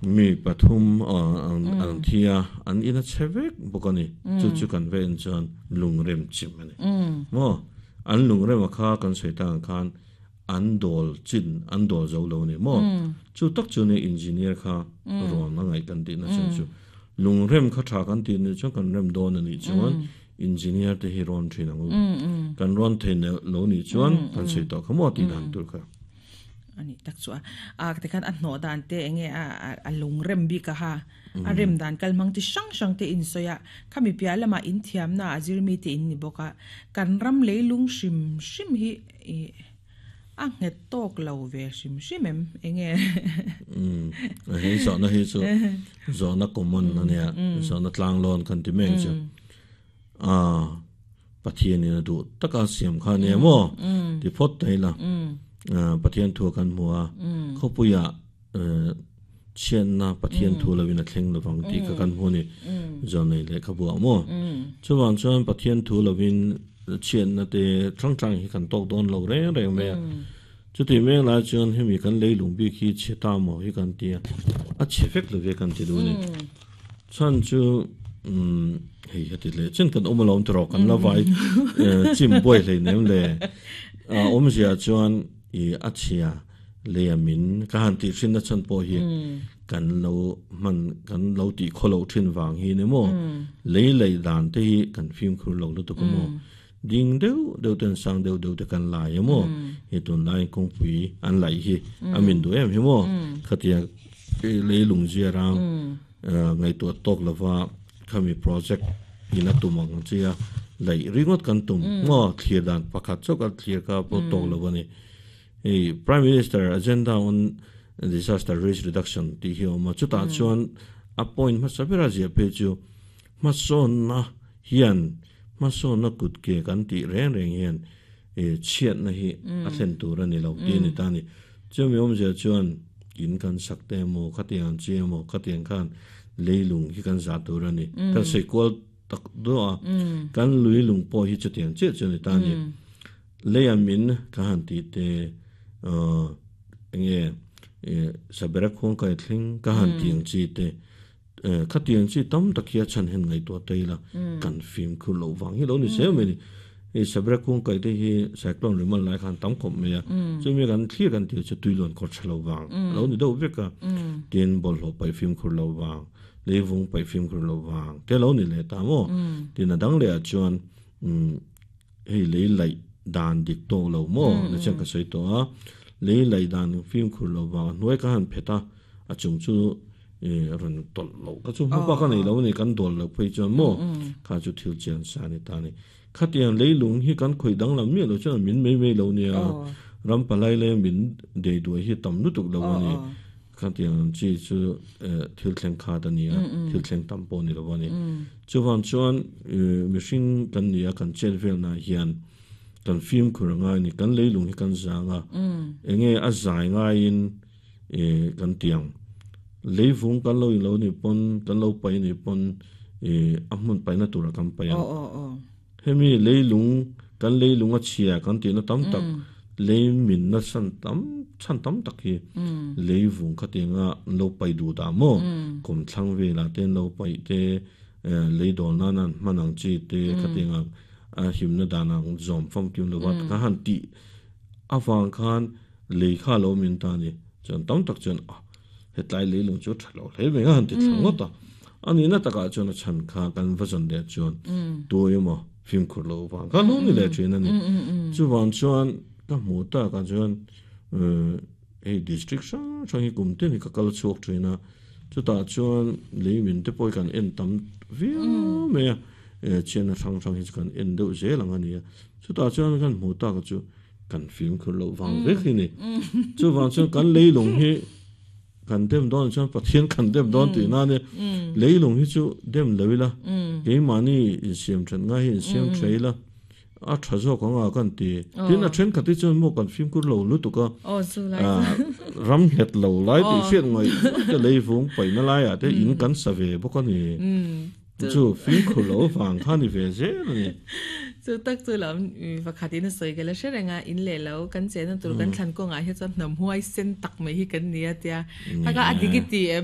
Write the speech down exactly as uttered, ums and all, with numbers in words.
Mi pathum an an thia an ina chevek bokani chu chu kan ve in chuan lungrem chim ani mo an lungrem kha kan soitang khan an dol chin an dol zo lo ni mo chu tak chu ne engineer kha ron na ngai kan ti na chu chu lungrem kha tha kan ti ni chu kan rem don ani chuan engineer te hi ron thin angu kan ron the lo ni chuan kan sei to khamo ti dan tur kha ani tak chu a te khan a hno dan te enge a a lung rem bi ka ha a rem dan kalmang ti sang sang te in soya khami pia lama in thiam na azir mi te in ni boka kan ram leilung shim shim hi a nget tok lo ve shim shim em enge um hei so na hi chu zo na common na ne zo na tlang lon kan ti meng chu a pathian ni na du taka siam kha ne mo ti phot tai la pathian thu kan mua khopuya chen na pathian thu lawin a thleng lawang ti ka kan huni zonei le khabua mo chuwang chuan pathian thu lawin chen na te thang thang hi kan tok don lo reng reng me chuti meng la chuan hemi kan leilung bi khi cheta mo hi kan tia a chefek lo ve kan ti du ni chan chu um hei hati le chen kan omlom tro kan la vai chim boi le nem le a omzia chuan i achia le amin ka han ti thin na chan po hi kan lo man kan lo ti kholo thin wang hi ne mo lei lei dan te hi kan phim khur lo lu to ko mo ding deu deu ten sang deu deu te kan lai mo hi tun lai kong pui an lai hi amin du em hi mo khatia lei lung zia rang ngai to tok lova khami project ina tumang chia lei ringot kan tum ngo thlir dan pakhat chok a thlir ka po tok lovani ei Prime Minister agenda on disaster risk reduction ti hi oma chuta chuan a point ma sabera zia pe chu ma son na hian ma son na kut ke kan ti reng reng hian e chiat na hi a thlen tur ani lo ti ni ta ni chumi om zia chuan in kan sak te mo khatiang che mo khatiang khan leilung hi kan za tur ani kan sei kwal tak do a kan lui lung po hi chutiang che chu ni ta ni leiamin ka han ti te uh nge sabera khong kai thling ka han tiang chi te khatiang chi tam takia chan hen ngai to teila kan phim khu lo wang hi lo ni se me ni e sabera khong kai te hi cyclone rimal lai khan tam khom me ya chumi kan thlir kan ti chu tuilon khor chalo wang lo ni do veka tin bol ho pai phim khu lo wang leivung pai phim khu lo wang te lo ni le ta mo tin adang le a chuan hei lei lai dan dik to lo mo na chen ka sei to a lei lai dan phim khur lo wa noi ka han pheta a chung chu e ron tol lo ka chu mu pa ka nei lo ni kan dol lo phei chuan mo kha chu thil chen sa ni ta ni khatiang lei lung hi kan khoi dang lam mi lo chuan min mei mei lo nia ram palai le min de du hi tam nu tuk lo ni khatiang chi chu thil thleng kha ta ni a thil thleng tam po ni lo ni chuwan chuan machine kan nia kan chen vel na hian kan phim khuranga ni kan leilung hi kan zanga enge a zai nga in e kan tiang leivung kan lo in lo ni pon kan lo pai ni pon e a hmun pai na tura kan pai o o o hemi leilung kan leilung a chhia kan ti na tam tak leimin na san tam chan tam tak hi leivung kha tinga lo pai du da mo kom thlang ve la ten lo pai te leidol na nan manang chi te kha tinga a himna danang zom fam kim lo wat ka han ti awang khan lekha lo min ta ni chan tam tak chan a hetlai le lung chu thalo le me han ti thango ta ani na taka chuan a chan kha kan vazon de chuan tu emo phim khur lo wang ka lo ni le chuan ani chu wang chuan ka mu ta ka chuan eh district sa changi kum te ni ka kal chuak thina chu ta chuan le min te poi kan en tam vi me chen a thang thang hi kan en deuh zel ang ani chu ta chuan kan mu ta ka chu kan phim khur lo wang vek hi ni chu wang chuan kan leilung hi kan dem don chuan pathian kan dem don ti na ne leilung hi chu dem loila ke mani in siam than nga hi in siam thaila a tha zo ka nga kan ti tin a then khati chuan mo kan phim khur lo lu tu ka o chu lai ram het lo lai ti fiat ngai te leivung pai na lai a te in kan sa ve bok ani chu phim khur lo wang kha ni ve ze ni chu tak chu lam pakhat in soi gala sherenga in le lo kan chen tur kan thlan ko nga he chuan nam huai sen tak mai hi kan nia tia taka adigiti